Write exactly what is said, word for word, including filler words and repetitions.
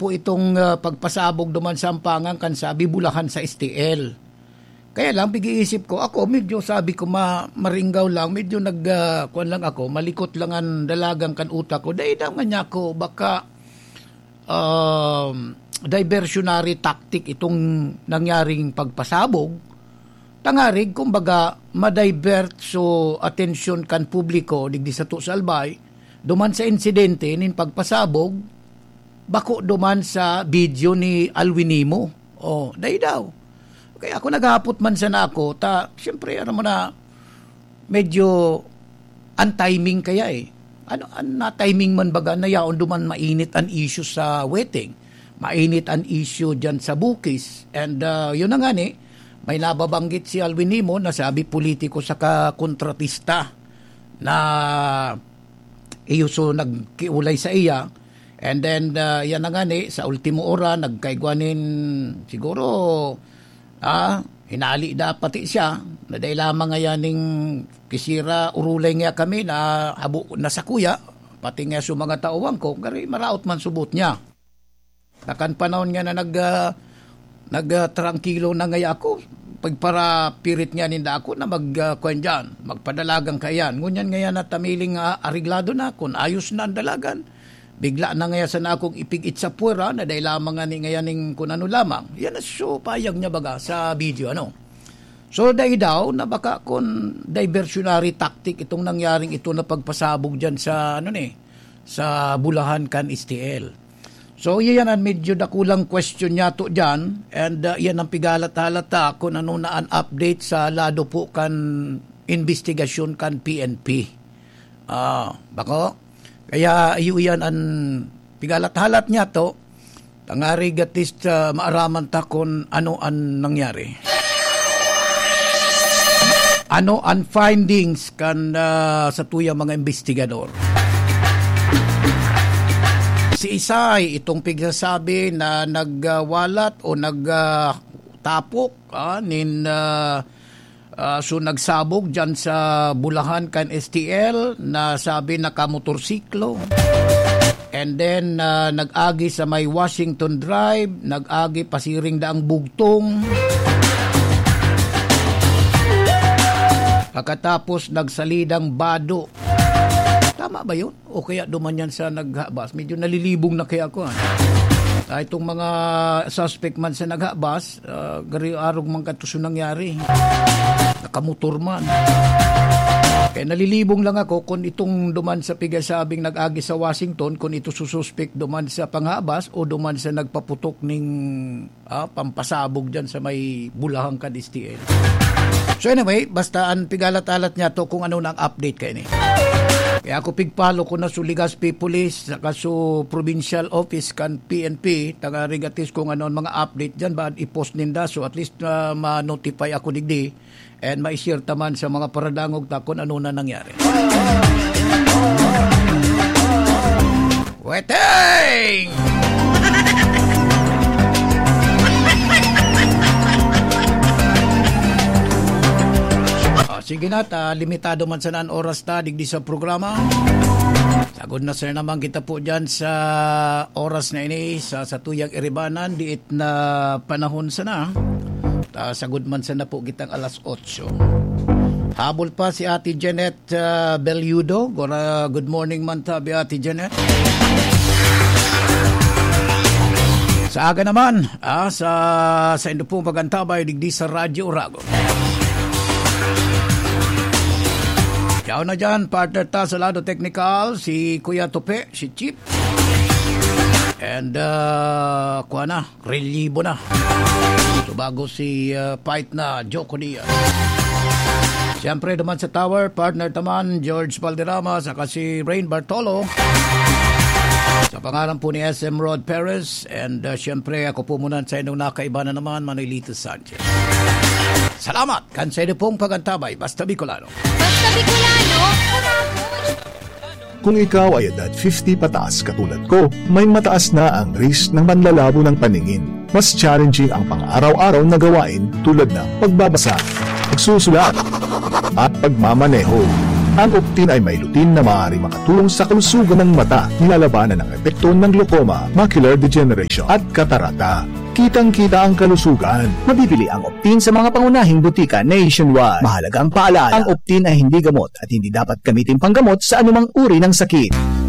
po itong, ah, pagpasabog duman sa Ampangan kan sabi bulahan sa S T L. Kaya lang, pag-iisip ko, ako, medyo sabi ko, ma-, maringgaw lang, medyo nag, ah, kuwan lang ako, malikot lang ang dalagan kan utak ko. Dai daw nga niya ako, baka, um, diversionary tactic itong nangyaring pagpasabog. Tangarig, kumbaga, ma-divert so atensyon kan publiko, digdi sato sa Albay, duman sa insidente nin pagpasabog, bako duman sa video ni Alwin Nimo. Oh, dai daw. Kaya ako naghapot man sana ako, ta, siyempre, ano mo na, medyo untiming kaya eh. Ano, an na-timing man baga na yaon duman mainit an issue sa Weteng. Mainit an issue dyan sa Bukis. And, ah, yun na nga ni, may nababanggit si Alwin Nimo na sabi politiko saka kontratista na iyo so nagkiulay sa iya. And then, ah, yan na nga ni, sa ultimo ora, nagkaigwa nin, siguro, ah, hinali da pati siya, na dai lamang ngayan ning kisira, urulay nga kami na habo na sa kuya, pati nga sa mga tauhan ko, gari maraot man subot niya. Nakan panahon nga na nag, ah, nag, ah, trangkilo na ngaya ako, pagparapirit nga ninda ako na mag, ah, kwan dyan, magpadalagan kaiyan. Ngunyan ngaya na tamiling, ah, areglado na, kun ayos na ang dalagan, bigla na ngaya sana akong ipig-it sa puwera, na dai lamang nga ni ngayan ning kun ano lamang. Yan na so payag niya baga sa video, ano. So, dai daw na baka kun diversionary tactic itong nangyaring ito na pagpasabog dyan sa, ano ni, sa bulahan kan S T L. So, iyan an medyo dakulang question niyato diyan, and, uh, iyan ang pigalat-halat ta kun ano na an update sa lado po kan imbestigasyon kan P N P. Ah, bako? Kaya iyo iyan an pigalat-halat niyato, tangarig at least, uh, maaraman ta kun ano an nangyari. Ano an findings kan, ah, satuyang mga imbestigador? Si Isay, itong pigsasabi na nagwalat o nag, ah, tapok, ah, nin, ah, ah, so nagsabog dyan sa bulahan kan S T L na sabi nakamotorsiklo. And then, ah, nag-agi sa may Washington Drive, nag-agi pasiring daang bugtong. Pagkatapos, nagsalidang bado. Tama ba yun? O kaya duman yan sa naghabas? Medyo nalilibong na kaya ako, ah. Ah, itong mga suspect man sa naghabas, ah, gari arog man kato so nangyari. Nakamotor man. Kaya nalilibong lang ako kung itong duman sa pigasabing nag-agi sa Washington, kung ito sususpek duman sa panghabas o duman sa nagpaputok ning, ah, pampasabog dyan sa may bulahan kan S T L. So anyway, basta ang pigalat-alat niya to kung ano nang update kaini. Kaya ako pigpalo ko na su Legazpi Police, saka su provincial office kan P N P, taga Rigatis kung ano ang mga update dyan, ba i-post ninda. So at least, ah, ma-notify ako digdi and ma-share ta man sa mga paradangog ta kung ano na nangyari. Weteng! Ah, sige na, ta, limitado man sana an oras ta digdi sa programa. Sagod na sana naman kita po dyan sa oras na ini, sa satuyang iribanan, diit na panahon sana. Ta, sagod man sana po kitang alas otso. Habol pa si Ate Janet, ah, Belludo. Gora, good morning man tabi, Ate Janet. Sa aga naman, ah, sa, saindo pong pag-antabay digdi sa Radyo Oragon. Yaon na dyan, partner ta sa lado teknikal, si Kuya Tope, si Chief. And, ah, kuha na, relyibo na. So, bago si, ah, Fight na, Joko Diaz. Siyempre, duman sa tower, partner ta man, George Valderrama, saka si Rain Bartolo. Sa pangalan po ni S M Rod Perez, and, ah, siyempre, ako po muna sa inyong nakaiba na naman, Manolito Sanchez. Salamat kan sa inyo pong pag-antabay, Basta Bicolano. Basta Bicolano, Kung ikaw ay edad fifty pataas katulad ko, may mataas na ang risk ng manlalabo ng paningin. Mas challenging ang pang-araw-araw na gawain tulad ng pagbabasa, pagsusulat, at pagmamaneho. Ang Optin ay may lutein na maaaring makatulong sa kalusugan ng mata. Nilalabanan ang epekto ng glaucoma, macular degeneration, at katarata. Kitang-kita ang kalusugan. Mabibili ang Optin sa mga pangunahing butika nationwide. Mahalagang paalala, ang Optin ay hindi gamot at hindi dapat gamitin panggamot sa anumang uri ng sakit.